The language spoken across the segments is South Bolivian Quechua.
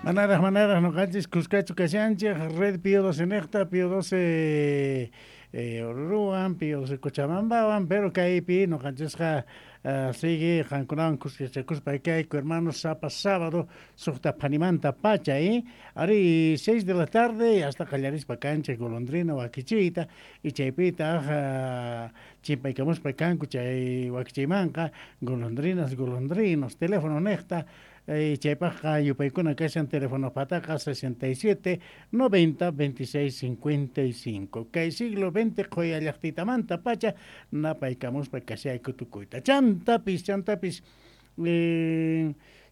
Manaraj, manaraj noqanchis kuskachu kashanchej Red Pío 12 nejta, Pío 12 Oruruwan, Pío 12 Cochabambawan, pero kaypi noqanchisqa sigue qankunawan kuskachakuspa kayku, hermanos, sapa sábado suqta phanimanta pacha, Ari, 6 de la tarde hasta qallarispa kanchej golondrina wakichiyta, y chaypitaq chimpaykamuspa kanku chay wakichiymanqa golondrinas, golondrinos, teléfono nejta, chaypaqqa yupaykuna kashan teléfono pataqa 67 90 26 55. Kay siglo XX qhoya llaqtitamanta pacha napaykamuspa kashayku tukuyta. Chantapis, chantapis,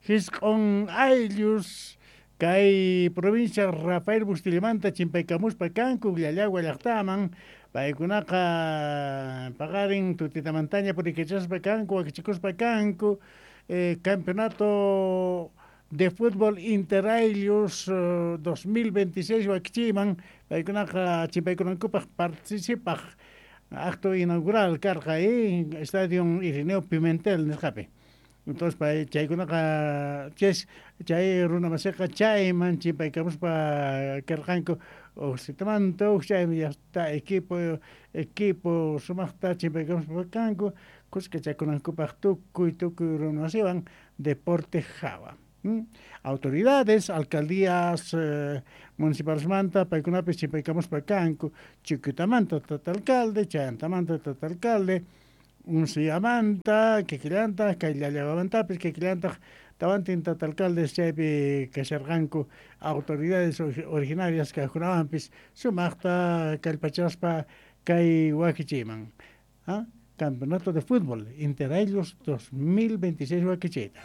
jisq'on ayllus kay provincia Rafael Bustillamanta chimpaykamuspa kanku Llallagua llaqtaman, paykunaqa paqarin tutitamantaña purikachaspa kanku, wakichikuspa kanku, campeonato de fútbol Interayllos 2026 wakichiyman paykunaqa chimpaykunankupaq participaq acto inaugural karqa Estadio Irineo Pimentel nisqapi. Entonces pay chaykunaqa chay runa masiqa chayman chimpaykamuspa karqanku ujsitamanta uj chaymi llaqta equipo equipo sumaqta chimpaykamuspa kanku kuskachakunankupaq tukuy tukuy runa masiwan deporte hawa. Autoridades, alcaldías municipalesmanta paykunapis chimpaykamuspa kanku Chiquitamanta tata alcalde, Chayantamanta tata alcalde, Unciyamanta, kikillantaq, kay Llallawamantapis kikillantaq tawantin tata alcaldes chaypi kasharqanku autoridades originarias kajkunawanpis sumaqta kallpachaspa kay wakichiyman. Campeonato de fútbol Interayllos 2026 wakichiyta.